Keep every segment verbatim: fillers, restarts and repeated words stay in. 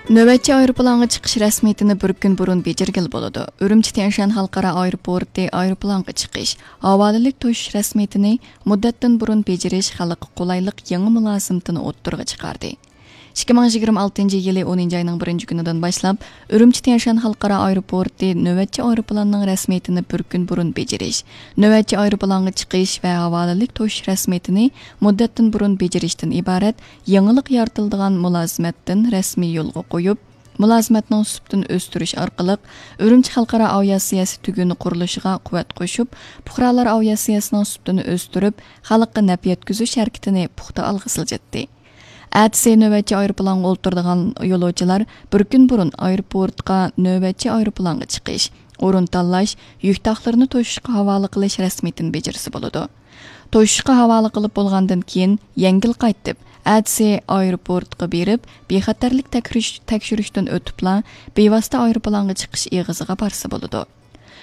نۆۋەتچى ئايروپىلانغا چىقىش رەسمىيىتىنى بىر كۈن بۇرۇن بېجىرگىلى بولىدۇ. ئۈرۈمچى تيەنشان خەلقئارا ئايروپورتى ئايروپىلانغا چىقىش، ھاۋالىلىك توشۇش رەسمىيىتىنى مۇددەتتىن بۇرۇن بېجىرىش خەلققە قولايلىق يېڭى مۇلازىمىتىنى ئوتتۇرىغا چىقاردى. ئىككى مىڭ يىگىرمە ئالتىنچى يىلى ئونىنچى ئاينىڭ بىرىنچى كۈنىدىن باشلاپ، ئۈرۈمچى تيەنشان خەلقئارا ئايروپورتى نۆۋەتچى ئايروپىلاننىڭ رەسمىيىتىنى بىر كۈن بۇرۇن بېجىرىش، نۆۋەتچى ئايروپىلانغا چىقىش ۋە ھاۋالىلىك توشۇش رەسمىيىتىنى مۇددەتتىن بۇرۇن بېجىرىشتىن ئىبارەت يېڭىلىق يارىتىلىدىغان مۇلازىمەتتىن رەسمىي يولغا قويۇپ، مۇلازىمەتنىڭ سۈپىتىنى ئۆستۈرۈش ئارقىلىق، ئۈرۈمچى خەلقئارا ئاۋىئاتسىيەسى تۈگۈنى قۇرۇلۇشىغا قۇۋۋەت قوشۇپ، پۇقرالار ئاۋىئاتسىيەسىنىڭ سۈپىتىنى ئۆستۈرۈپ، خەلققە نەپ يەتكۈزۈش ھەرىكىتىنى پۇختا ئالغا سىلجىتتى. ئەتىسى نۆۋەتچى ئايروپىلانغا ئولتۇرىدىغان يولۇچىلار بىر كۈن بۇرۇن ئايروپورتقا نۆۋەتچى ئايروپىلانغا چىقىش، ئورۇن تاللاش، يۈك تاقلىرىنى توشۇشقا ھاۋالە قىلىش رەسمىيىتىنى بېجىرسە بولىدۇ. توشۇشقا ھاۋالە قىلىپ بولغاندىن كېيىن، يەڭگىل قايتىپ، ئەتىسى ئايروپورتقا بېرىپ، بىخەتەرلىك تەكشۈرۈش-، تەكشۈرۈشتىن ئۆتۈپلا، بىۋاسىتە ئايروپىلانغا چىقىش ئېغىزىغا بارسا بولىدۇ.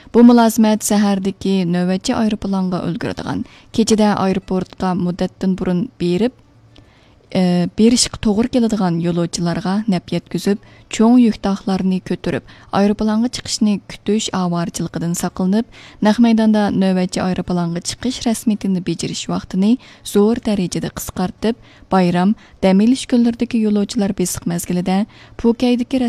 بۇ مۇلازىمەت سەھەردىكى نۆۋەتچى ئايروپىلانغا ئۈلگۈرىدىغان، كېچىدە ئايروپورتقا مۇددەتتىن بۇرۇن بېرىپ، ئى، بېرىشقا توغرا كېلىدىغان يولۇچىلارغا نەپ يەتكۈزۈپ، چوڭ يۈك تاقلارنى كۆتۈرۈپ، ئايروپىلانغا چىقىشنى كۈتۈش ئاۋارىچىلىقىدىن ساقلىنىپ، نەق مەيداندا نۆۋەتچى ئايروپىلانغا چىقىش رەسمىيىتىنى بېجىرىش ۋاقتىنى زور دەرىجىدە قىسقارتىپ، بايرام، دەم ئېلىش كۈنلىرىدىكى يولۇچىلار بېسىق مەزگىلىدە پۇكەيدىكى